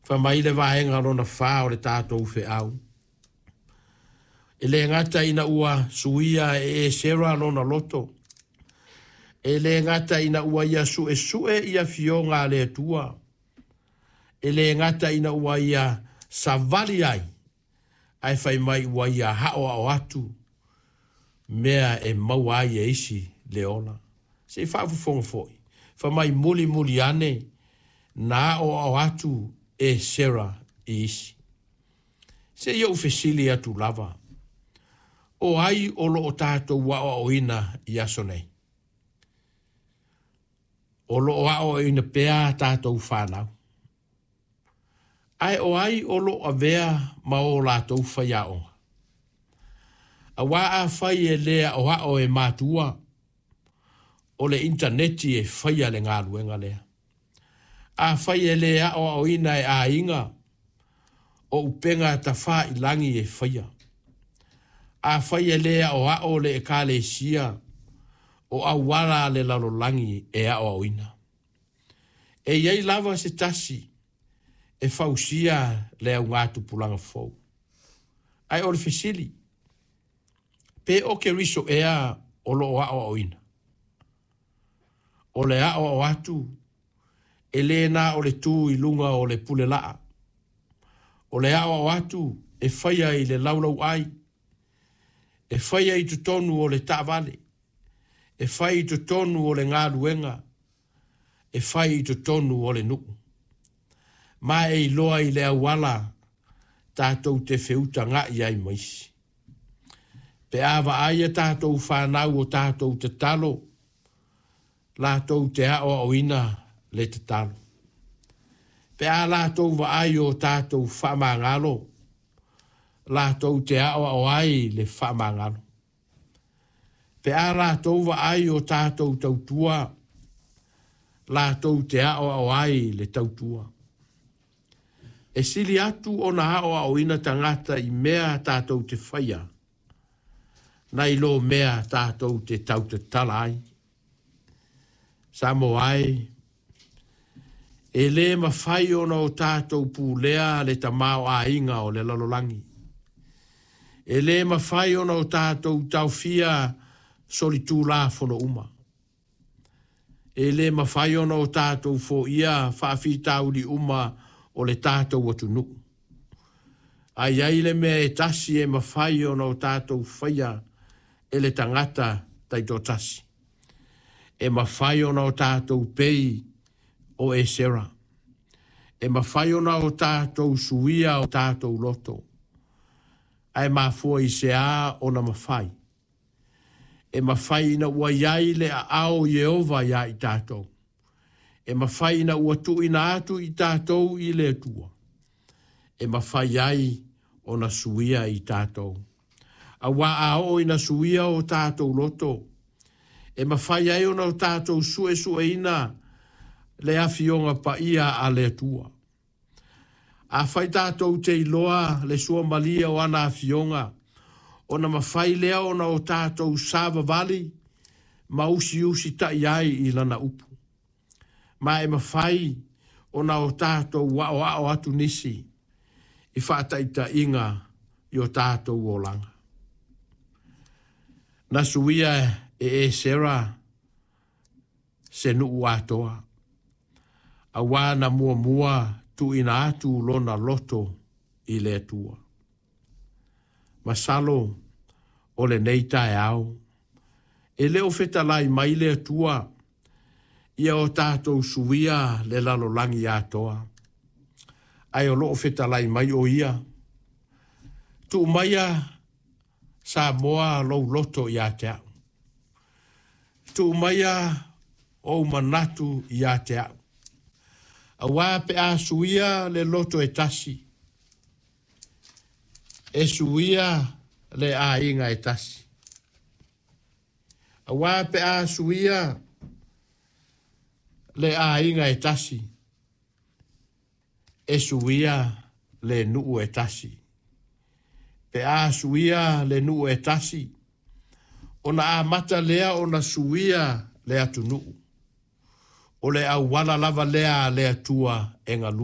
Fai mai le vaega lona fa o le tatou feau. E le gata ina ua suia e Esera lona loto, e le gata ina ua ia suesue i afioga a le Atua, e le gata ina ua ia savali ai, ae fai mai ua ia aoao atu mea e maua ai e isi le ola. Se i faafofoga foi, fai mai mulimuli ane na aoao atu Esera i isi. Se i ou fesili atu lava, o ai o lo o tatou aoaoina i aso nei? O lo o aoaoina pea tatou fanau. Ae o ai o lo o avea ma o latou faiaoga? Aua afai e le aoao e matua, o le initaneti e faia le galuega lea. Afai e le aoaoina e aiga, o upega tafailagi e faia. Afai e le aoao le ekalesia, o auala a le lalolagi e aoaoina. E i ai lava se tasi e fausia le augatupulaga fou. Ae o le fesili, pe o Keriso ea o lo o aoaoina? O le aoao atu, e le na o le tu i luga o le pulelaa. O le aoao atu e faia i le laulauai, e faia i totonu o le taavale, e fai i totonu o le galuega, e fai i totonu o le nuu. Ma e iloa i le auala tatou te feutaga'i ai ma isi. Pe a vaai a tatou fanau o tatou tatalo, latou te aoaoina le tatalo. Pe a latou vaai o tatou faamagalo, latou te aoao ai le faamagalo. Pe a latou vaai o tatou tautua, latou te aoao ai le tautua. E sili atu ona aoaoina tagata i mea tatou te faia, nai lo mea tatou te tautatala ai. Samoa e, e le mafai ona o tatou pulea le tamaoaiga o le lalolagi. E le mafai ona o tatou taofia solitulafono uma. E le mafai ona o tatou foia faafitauli uma o le tatou atunuu. Ae i ai le mea e tasi e mafai ona o tatou faia e le tagata taitoatasi. E mafai ona o tatou pei o Esera. E mafai ona o tatou suia o tatou loto. Ae mafua i se a ona mafai? E mafai ina ua i ai le aao o Ieova iā i tatou. E mafai ina ua tuuina atu i tatou i le Atua. E mafai ai ona suia i tatou. Aua a oo ina suia o tatou loto, e mafai ai ona o tatou suesueina le afioga paia a le Atua. Afai tatou te iloa le suamalie o ana afioga, ona mafai lea ona o tatou savavali ma usiusitai ai i lana upu. Ma e mafai ona o tatou aoao atu nisi i faataitaiga i o tatou olaga. Na suia e Esera se nuu atoa, aua na muamua tuuina atu lona loto i le Atua. Masalo o lenei taeao, e le o fetalai mai le Atua ia o tatou suia le lalolagi atoa, ae o lo o fetalai mai o ia, tuu maia Samoa lou loto ia te au. Tuu maia ou manatu ia te au. Aua pe a suia le loto e tasi, e suia le aiga e tasi. Aua pe a suia le aiga e tasi, e suia le nuu e tasi. Pe a suia le nuu e tasi, ona amata lea ona suia le atunuu. O le auala lava lea a le Atua e galue.